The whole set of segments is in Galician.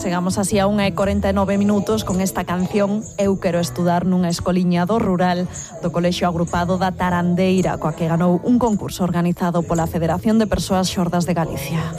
Chegamos así a 1:49 con esta canción Eu quero estudar nunha escoliña do rural do Colexio Agrupado da Tarandeira, coa que ganou un concurso organizado pola Federación de Persoas Xordas de Galicia.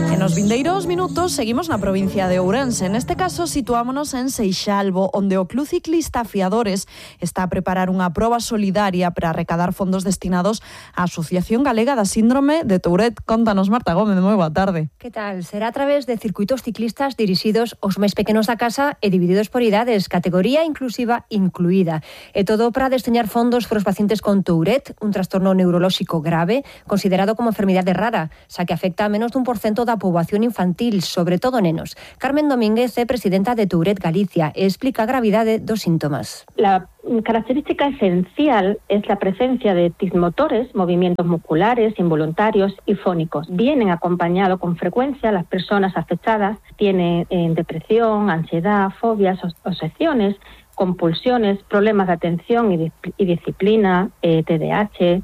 En os vindeiros minutos seguimos na provincia de Ourense. Neste caso situámonos en Seixalbo, onde o Club Ciclista Fiadores está a preparar unha proba solidaria para recadar fondos destinados á Asociación Galega da Síndrome de Tourette. Contanos, Marta Gómez, moi boa tarde. Que tal? Será a través de circuitos ciclistas dirixidos aos máis pequenos da casa e divididos por idades, categoría inclusiva incluída. E todo para destinar fondos para os pacientes con Tourette, un trastorno neurolóxico grave, considerado como enfermidade rara, xa que afecta a menos dun % da poboación infantil, sobre todo nenos. Carmen Domínguez é presidenta de Tourette Galicia e explica a gravidade dos síntomas. La característica esencial es la presencia de tics motores, movimientos musculares, involuntarios y fónicos. Vienen acompañados con frecuencia las personas afectadas, tienen depresión, ansiedad, fobias, obsesiones, compulsiones, problemas de atención y disciplina, TDAH,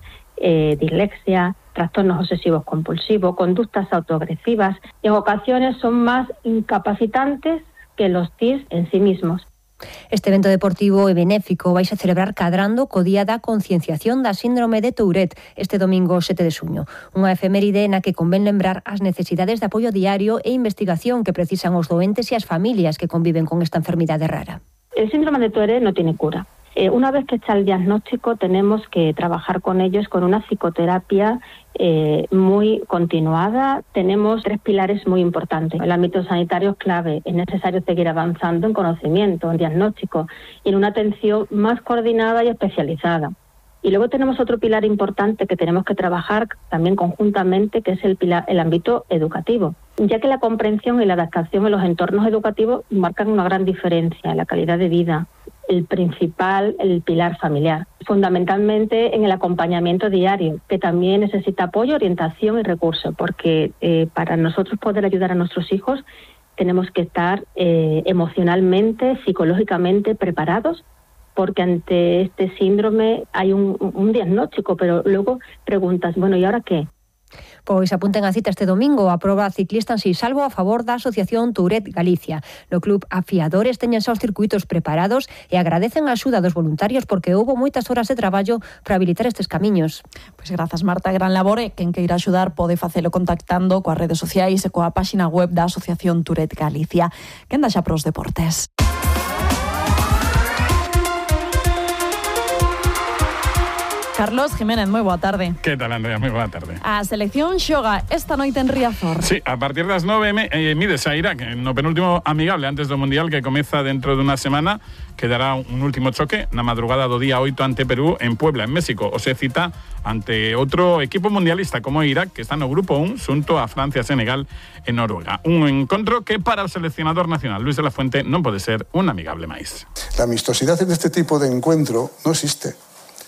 dislexia, trastornos obsesivos compulsivos, conductas autoagresivas, y en ocasiones son más incapacitantes que los TIC en sí mismos. Este evento deportivo e benéfico vais a celebrar cadrando co Día da Concienciación da Síndrome de Tourette este domingo 7 de xuño. Unha efeméride na que convén lembrar as necesidades de apoio diario e investigación que precisan os doentes e as familias que conviven con esta enfermidade rara. El síndrome de Tourette no tiene cura. Una vez que está el diagnóstico, tenemos que trabajar con ellos con una psicoterapia muy continuada. Tenemos 3 pilares muy importantes. El ámbito sanitario es clave. Es necesario seguir avanzando en conocimiento, en diagnóstico y en una atención más coordinada y especializada. Y luego tenemos otro pilar importante que tenemos que trabajar también conjuntamente, que es el ámbito educativo, ya que la comprensión y la adaptación en los entornos educativos marcan una gran diferencia en la calidad de vida. El pilar familiar, fundamentalmente en el acompañamiento diario, que también necesita apoyo, orientación y recursos, porque para nosotros poder ayudar a nuestros hijos tenemos que estar emocionalmente, psicológicamente preparados, porque ante este síndrome hay un diagnóstico, pero luego preguntas, bueno, ¿y ahora qué? Pois apunten a cita este domingo a proba ciclista en Seixalbo a favor da Asociación Tourette Galicia. No club Afiadores teñen xa os circuitos preparados e agradecen a axuda dos voluntarios porque houbo moitas horas de traballo para habilitar estes camiños. Pois grazas, Marta, gran labor, e quen queira axudar pode facelo contactando coas redes sociais e coa páxina web da Asociación Tourette Galicia. Quen dá xa pros deportes? Carlos Jiménez, moi boa tarde. Que tal, Andrea? Moi boa tarde. A selección xoga esta noite en Riazor. Sí, a partir das 9 mides a Irak no penúltimo amigable antes do Mundial que comeza dentro dunha semana, que dará un último choque na madrugada do día 8 ante Perú en Puebla, en México. O se cita ante outro equipo mundialista como Irak, que está no grupo 1 xunto a Francia, Senegal e Noruega. Un encontro que para o seleccionador nacional Luis de la Fuente non pode ser un amigable máis. La amistosidad en este tipo de encuentro no existe.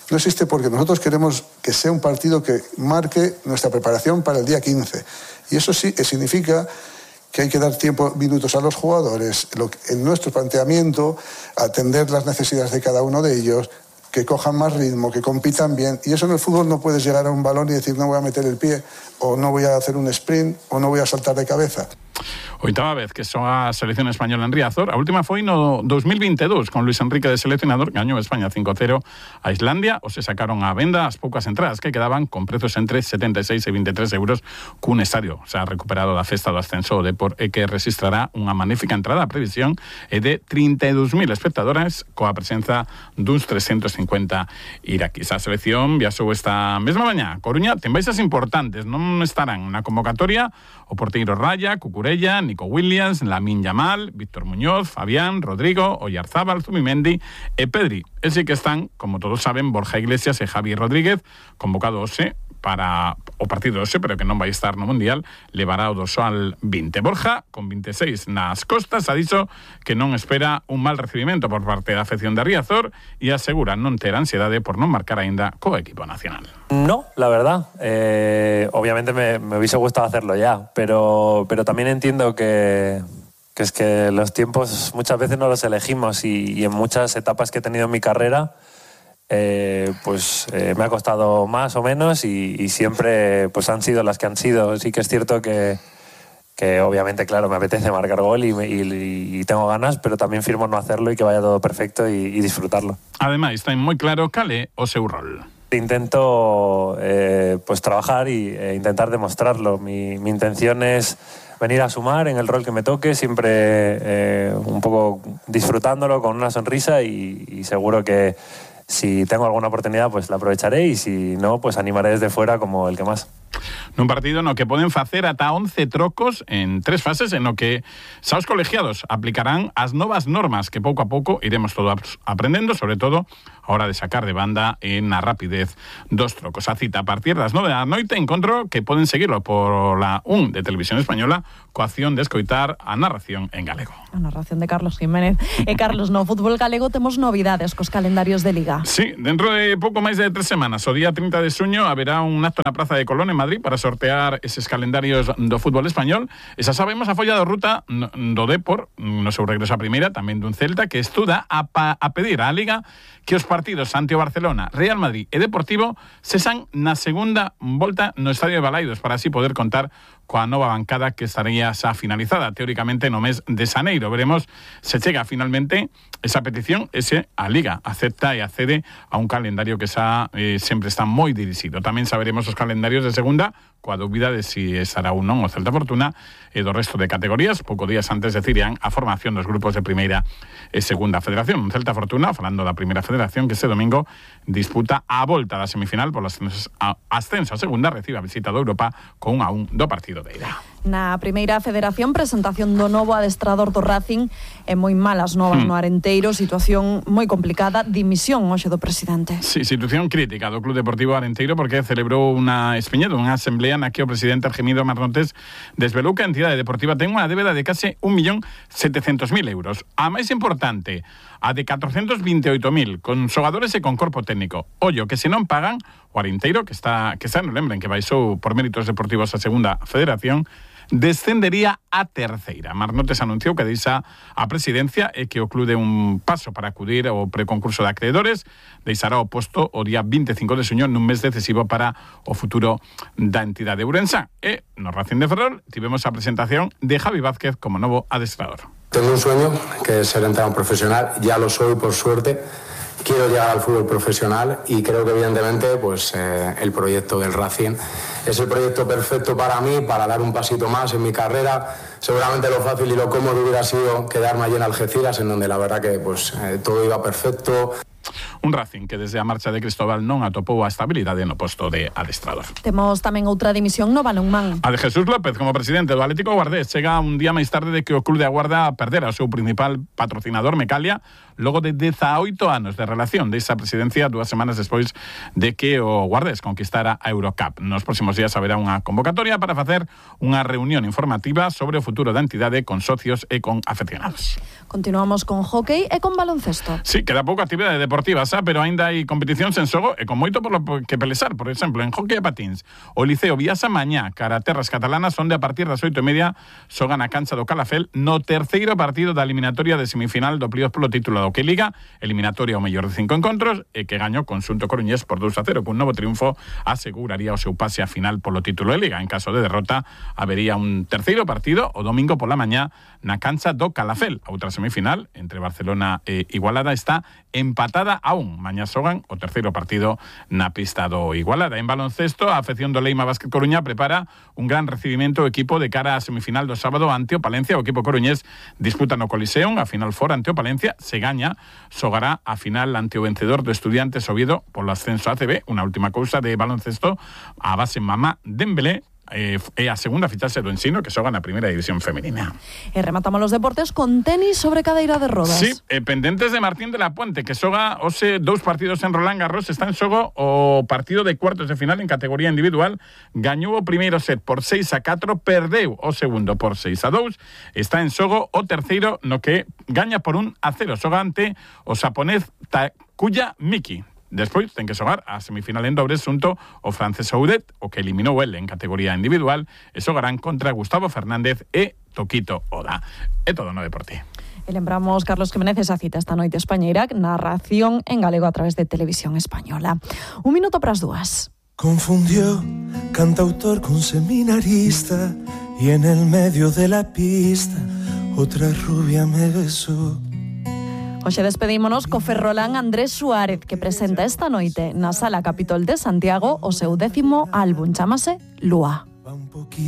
No existe porque nosotros queremos que sea un partido que marque nuestra preparación para el día 15. Y eso sí significa que hay que dar minutos a los jugadores, en nuestro planteamiento, atender las necesidades de cada uno de ellos, que cojan más ritmo, que compitan bien. Y eso en el fútbol no puedes llegar a un balón y decir no voy a meter el pie, o no voy a hacer un sprint, o no voy a saltar de cabeza. Oitava vez que soa a selección española en Riazor. A última foi no 2022 con Luis Enrique de seleccionador, gañou España 5-0 a Islandia, ou se sacaron a venda as poucas entradas que quedaban con prezos entre 76 e 23 euros cun estadio. Se ha recuperado da festa do ascenso o Depor e que registrará unha magnífica entrada. A previsión é de 32.000 espectadores coa presenza duns 350 iraquís. A selección viaxou esta mesma mañá. Coruña ten baixas importantes, non estarán na convocatoria o porteiro Raya, Cucurella, Nico Williams, Lamine Yamal, Víctor Muñoz, Fabián, Rodrigo, Oyarzábal, Zubimendi e Pedri. E sí que están, como todos saben, Borja Iglesias e Javi Rodríguez, convocados para o partido hoxe, pero que non vai estar no Mundial, levará o dorsal 20. Borja, con 26 nas costas, ha dicho que non espera un mal recibimento por parte da afección de Riazor e asegura non ter ansiedade por non marcar aínda co equipo nacional. No, la verdad. Obviamente me hubiese gustado hacerlo ya, pero también entiendo que es que los tiempos muchas veces no los elegimos y en muchas etapas que he tenido en mi carrera pues me ha costado más o menos y siempre pues han sido las que han sido. Sí que es cierto que obviamente, claro, me apetece marcar gol y tengo ganas, pero también firmo no hacerlo y que vaya todo perfecto y disfrutarlo. Además, está muy claro cal é o seu rol. Intento pues trabajar e intentar demostrarlo. Mi intención es venir a sumar en el rol que me toque, siempre un poco disfrutándolo con una sonrisa y seguro que si tengo alguna oportunidad pues la aprovecharé y si no, pues animaré desde fuera como el que más. Nun partido no que poden facer ata 11 trocos en 3 fases en no que xa os colegiados aplicarán as novas normas que pouco a pouco iremos todos aprendendo, sobre todo a hora de sacar de banda na rapidez dos trocos. A cita a partir das 9 da noite, encontro que poden seguirlo por la 1 de Televisión Española coa acción de escoitar a narración en galego. A narración de Carlos Jiménez. Carlos, no fútbol galego temos novidades cos calendarios de Liga. Sí, dentro de pouco máis de 3 semanas, o día 30 de xuño, haberá un acto na Praza de Colón en Madrid para sortear eses calendarios do fútbol español. E xa sabemos a folla de ruta do Depor, no seu regreso a primeira, tamén dun Celta, que estuda a pedir á Liga que os partidos ante o Barcelona, Real Madrid e Deportivo cesan na segunda volta no Estadio de Balaidos para así poder contar coa nova bancada que estaría xa finalizada teóricamente no mes de xaneiro. Veremos se chega finalmente esa petición, ese a Liga acepta e accede a un calendario que xa sempre está moi dirixido. Tamén saberemos os calendarios de segunda, coa dúbida de si estará ou non o Celta Fortuna e do resto de categorías. Poucos días antes decidirán a formación dos grupos de primeira e segunda federación. Un Celta Fortuna, falando da primeira federación, que este domingo disputa a volta da semifinal por ascenso a segunda, recibe a visita do Europa con 1-1 do partido de ida. Na primeira federación, presentación do novo adestrador do Racing e moi malas novas no Arenteiro, situación moi complicada, dimisión hoxe do presidente. Sí, situación crítica do Club Deportivo Arenteiro porque celebrou unha unha asamblea na que o presidente Argemido Marnotes desvelou que a entidade deportiva ten unha débeda de case 1.700.000 euros. A máis importante, a de 428.000, con xogadores e con corpo técnico. Ollo, que se non pagan, o Arenteiro, que está non lembren que baixou por méritos deportivos a segunda federación, descendería a terceira. Marnotes anunciou que deixa a presidencia e que o club de un paso para acudir ao preconcurso de acreedores, deixará o posto o día 25 de xuño nun mes decisivo para o futuro da entidade ourensá. E no Racing de Ferrol tivemos a presentación de Javi Vázquez como novo adestrador. Tengo un sueño que es ser entrenador profesional, ya lo soy por suerte. Quiero llegar al fútbol profesional y creo que evidentemente pues el proyecto del Racing es el proyecto perfecto para mí, para dar un pasito más en mi carrera. Seguramente lo fácil y lo cómodo hubiera sido quedarme allí en Algeciras, en donde la verdad que pues todo iba perfecto. Un Racing que desde a marcha de Cristóbal non atopou a estabilidade no posto de adestrador. Temos tamén outra dimisión no balonmán. A de Jesús López como presidente do Atlético Guardés chega un día máis tarde de que o club de Aguarda perdera o seu principal patrocinador Mecalia logo de 18 anos de relación desa presidencia 2 semanas despois de que o Guardés conquistara a Eurocup. Nos próximos días haberá unha convocatoria para facer unha reunión informativa sobre o futuro da entidade con socios e con afeccionados. Continuamos con hóquei e con baloncesto. Sí, queda pouca actividade deportiva, pero aínda hai competicións en xogo e con moito por lo que pelexar. Por exemplo, en hóquei e patíns, o Liceo Viasa mañá cara a terras catalanas, onde a partir das 8:30 xogan a cancha do Calafel no terceiro partido da eliminatoria de semifinal do playoff polo título da Hockey Liga, eliminatoria ao mellor de 5 encontros e que gañou Conxunto Coruñés por 2-0, que un novo triunfo aseguraría o seu pase a final polo título de Liga. En caso de derrota, habería un terceiro partido o domingo pola mañá na cancha do Calafel. A outra semifinal entre Barcelona e Igualada está empatada a 1. Mañá xogan o terceiro partido na pista do Igualada. En baloncesto, a afección do Leima Básquet Coruña prepara un gran recibimento ao equipo de cara á semifinal do sábado ante o Palencia. O equipo coruñés disputa no Coliseum a final fora ante o Palencia. Se gaña, xogará a final ante o vencedor do Estudiantes Oviedo polo ascenso a ACB. Unha última cousa de baloncesto, a base Mamá Dembélé é a segunda fichaxe do Ensino que xoga na primeira división femenina. E rematamos os deportes con tenis sobre cadeira de rodas. Sí, pendentes de Martín de la Puente, que xoga hoxe 2 partidos en Roland Garros. Está en xogo o partido de cuartos de final en categoría individual. Gañou o primeiro set por 6-4, perdeu o segundo por 6-2. Está en xogo o terceiro no que gaña por 1-0. Xoga ante o xaponés Takuya Miki. Despois ten que xogar a semifinal en dobres xunto o francés Oudet, o que eliminou el en categoría individual, e xogarán contra Gustavo Fernández e Tokito Oda. É todo no deporte. E lembramos, Carlos Jiménez, esa cita esta noite España-Irak, narración en galego a través de Televisión Española. 1 minuto para as 2. Confundió cantautor con seminarista y en el medio de la pista otra rubia me besó. Hoxe despedímonos co ferrolán Andrés Suárez, que presenta esta noite na Sala Capitol de Santiago o seu 10º álbum, chámase Lúa.